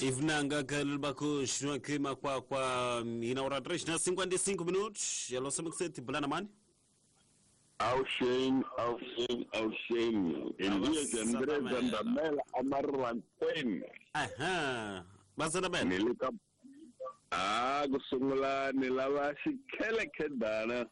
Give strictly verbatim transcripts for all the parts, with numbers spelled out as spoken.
Ivnanga kalbaku kima kwa kwa ina três na cinquenta e cinco minutos. Alô, sete bulana mani. Auxen, auxen, auxen. Elias André Zandamela Amarwanten. Aham. Bazana Nilika. Ah, kusungula nilava xikhele khedana.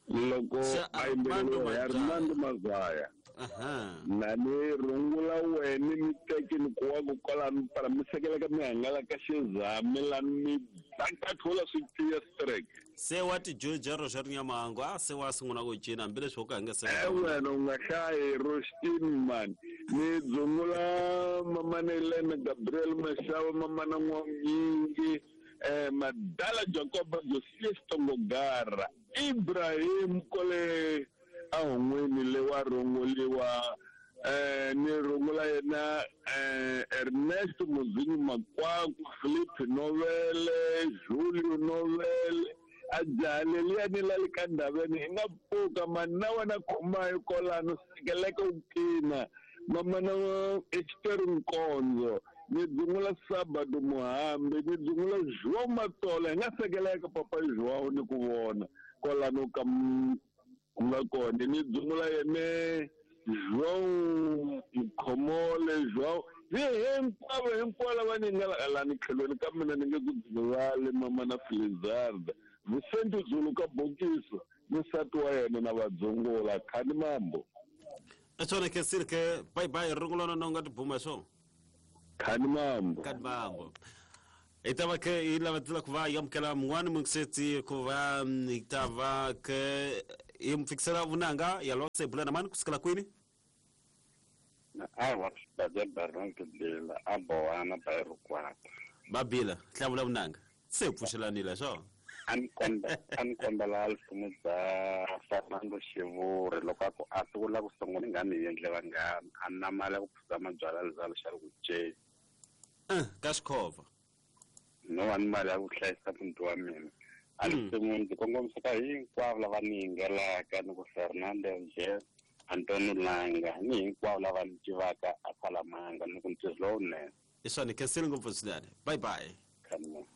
Loko a Armando Mazaya. Aha. Nani rungula wena mi teki ni kuwa ku kwala mi para mi sekela ka mi hangala ka xizami la mi bakathola swi tiya strike. Se wa ti joja ro xa rinyamango a se wa sungula ku cina hambileswi wo ka nge se. Eh wena u nga hlayi Rostin man. Ni dzungula mama Elena Gabriel Mashava mama na N'wanyingi eh Madala Jacob Josias Tongogara Ibrahim Kole ahon'wini le wa runguriwa eh ni rungula yena eh Ernest Muzinyi Makwaku Philip Novele Julio Novele ajale liya ni la le ka ndaveni hi nga pfuka mani na wena khomayo kolano sekeleke u kina mama na Esther Nkonzo ni dzungula Sabado Muhambi ni dzungula João Matola hi nga sekeleka papa João ni ku vona kolano ka nga kona ni dzungula yene João Mkhomole João hi hinkwavo hinkwavo lava ni nga lani tlhelweni ka mina ni nge ku dzivale mama na Filizarda Vicente Zulu ka Bokiso ni nsati wa yena na vadzungula khani mambo. Etsona ke sirke bye bye rungulana no nga tibuma so khani mambo khani mambo. Itava ke ila ku va yamukela mun'wani mungiseti ku va itava ke imfikisela vunanga ya lose bulana mani kusukela kwini awa baje barnke bila aboana bayrukwata babila hlamula vunanga se pfuxelanile swo an komba an kombela alfumu bya Fernando Xivuri loko a ku a sungula ku sungula nga mi endle vanghana a na mali ya ku phuza mabyalwa lezalo xa ku ce eh ka xikhova no wa ni mali ya ku hlayisa muti wa mina a ni sungula ndzi kongomisa ka hinkwavo lava ni yingelaka ni ku Fernando Nje Antonio Langa ni hinkwavo lava ni tivaka a Palamanga ni ku ntirho lowunene i swani khensile ngopfu swinene bye bye Khani.